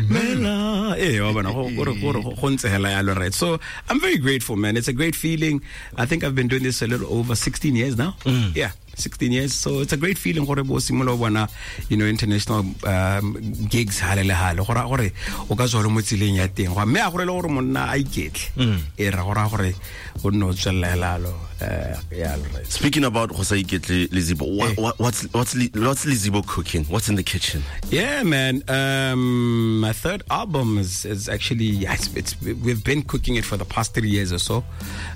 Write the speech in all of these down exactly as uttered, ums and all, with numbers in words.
Mela eh wa bona go go go go ntse hela yalo, right? So I'm very grateful, man. It's a great feeling. I think I've been doing this a little over sixteen years now. Mm. Yeah, sixteen years. So it's a great feeling gore bo simolola bona, you know, international um, gigs hale le hale gore gore o ka tswa le mo tseleng ya teng go mme a gore le gore monna a iketle e ra gore gore o nne o tswelela hela eh yeah, right. Speaking about go sa iketle, Lizibo, what, what, what's what's what's Lizibo cooking? What's in the kitchen? Yeah, man, um, my third album is, is actually, yeah, it's, it's we've been cooking it for the past three years or so.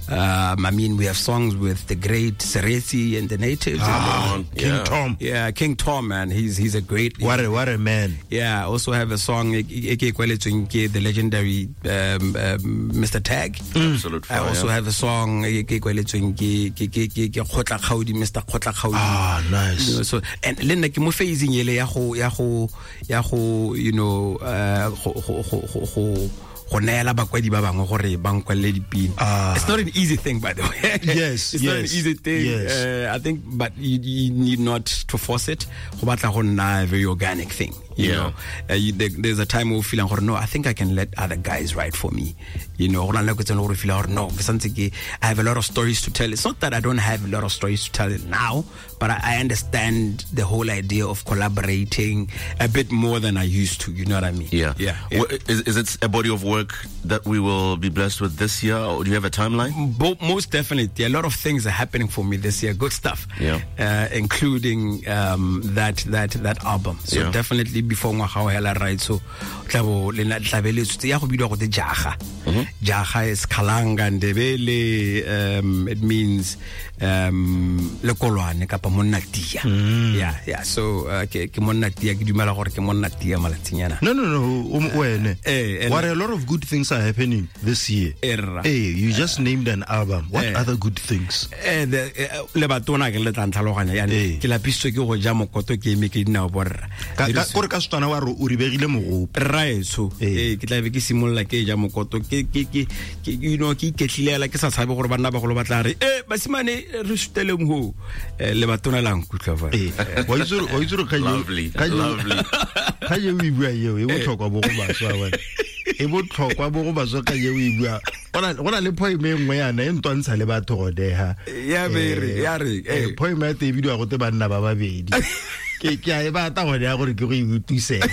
Um, I mean, we have songs with the great Sereti and the Natives. Ah, and King yeah. Tom. Yeah, King Tom, man. He's he's a great... What a, what a man. Yeah, I also have a song, the legendary um, um, Mister Tag. Mm. Absolute fire. I also have a song, Mister Kgotla Kgaudi. Ah, nice. You know, so, and le nna ke mo phasing ele ya go ya go ya go you know uh go go go go go neela bakwadi ba bangwe gore ba nkwalele dipina. It's not an easy thing, by the way. Yes, it's yes, not an easy thing. Yes. Uh, I think, but you, you need not to force it. Go batla go nna a very organic thing. You Yeah. know, uh, you, there, there's a time where you feel like, no, I think I can let other guys write for me. You know, I no, I have a lot of stories to tell. It's not that I don't have a lot of stories to tell now, but I, I understand the whole idea of collaborating a bit more than I used to. You know what I mean? Yeah. Yeah. yeah. Well, is, is it a body of work that we will be blessed with this year, or do you have a timeline? Bo- most definitely. A lot of things are happening for me this year. Good stuff. Yeah. Uh, including um, that, that, that album. So yeah. definitely before ngwaga o hela, right? So tlabo le na tlabeletswe ya go bidiwa go te jaga. Jaga is Kalanga Ndebele. Um, it means um lekolwane kapa monna tia. Yeah, yeah. So uh, ke ke monna tia, ke dumela gore ke monna tia malatsinyana. No, no, no, um, wene. Eh, what a lot of good things are happening this year. Erra. Hey, you just named an album. What Eh. other good things? Eh, the le batona ke le tla ntlhaloganya yani Eh. ke lapisitswe ke go ja mokoto ke eme ke dinao borra. Ka ka kore ka Setswana wa re o ribegile mogopo. Raetsho Eh. eh ke tla be ke simolola ke ja mokoto ke ke ke ke you know ke iketlilela ke sa tshabe gore banna bagolo ba tla re eh basimane re suteleng ho eh le batona la nkutlwa fa. Eh, wa itse gore- wa itse gore kgang eo- Lovely, kgang eo- lovely. kgang eo o e bua eo, e botlhokwa bo go baswa wena. E botlhokwa bo go baswa kgang eo o e bua. Go na- go na le poem e nngwe yana e ntwantsha le batho gone ha. Ya be re, Eh, ya re, eh, eh. poem ya teng e bidiwa gote banna ba babedi. Ke ke a e batla gone ya gore ke go e utlwisega.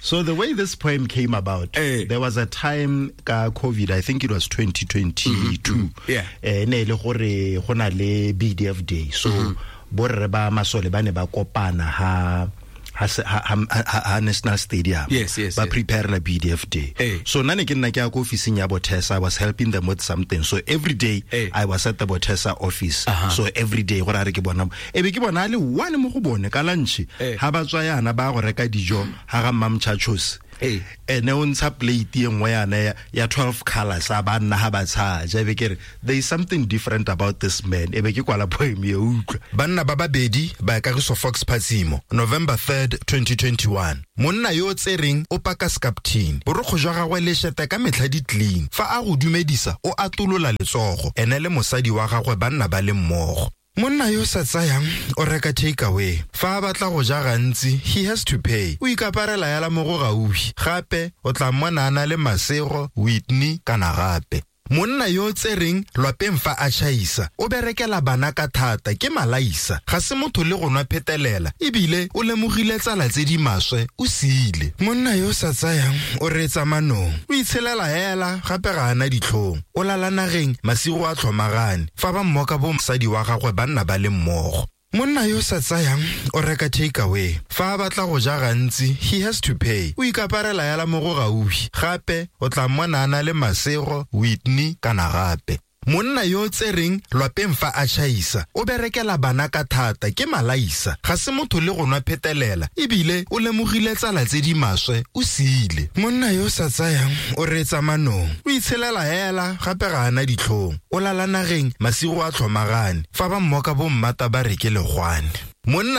So the way this poem came about, Eh. there was a time ka COVID, I think it was twenty twenty-two. Mm-hmm. Yeah. Eh, ne e le gore go na le B D F Day. So Mm-hmm. borre ba masole ba ne ba kopana ha ha se-, ha, ha, ha, ha National Stadium. Yes, yes, Ba yes. prepare la B D F Day. Eh. So nna ne ke nna ke ya ko ofising ya Botesa, I was helping them with something. So every day Eh. I was at the Botesa office. Uh-huh. So every day gore a re ke bona. E be ke bona a le one mo go bone ka lunch. Eh. Ha ba tswa yana ba go reka dijo ha ga Mmamchachos. Eh. Ene o ntsha plate e nngwe yana ya, ya twelve colors a ba nna ha ba tshaja. E be ke re there is something different about this man. E be ke kwala poem e utlwa. Banna ba babedi ba Kagiso Fox Phatsimo, November third, twenty twenty-one. Monna yo o tsereng o paka skaptine. Borokgo jwa gagwe le shete ka metlha di clean. Fa a go dumedisa o atolola letsogo. Ene le mosadi wa gagwe ba nna ba le mmogo. Monna yo sa tsayang o reka takeaway. Fa a batla go ja gantsi, he has to pay. O ikaparela yala mo go gaufi. Gape o tla mmona a na le Masego, Whitney kana gape. Monna yo o tsereng lwapeng fa a tšhaisa, o berekela bana ka thata ke malaisa. Ga se motho le go nwa phetelela, ebile o lemogile tsala tse di maswe, o siile. Monna yo o sa tsayang o reetsa manong, o itshelela hela gape ga ana ditlhong. O lala nageng masigo a tlhomagane, fa ba mmoka bo mosadi wa gagwe ba nna ba le mmogo. Monna yo sa tsayang o reka takeaway. Fa a batla go ja gantsi, he has to pay. O ikaparela yala mo go gaufi. Gape o tla mmona a na le Masego, Whitney kana gape. Monna yo o tsereng lwapeng fa a tšhaisa, o berekela bana ka thata ke malaisa. Ga se motho le go nwa phetelela, ebile o lemogile tsala tse di maswe, o siile. Monna yo o sa tsayang o reetsa manong, o itshelela hela gape ga ana ditlhong. O lala nageng masigo a tlhomagane, fa ba mmoka bo mmata ba re ke legwane. Monna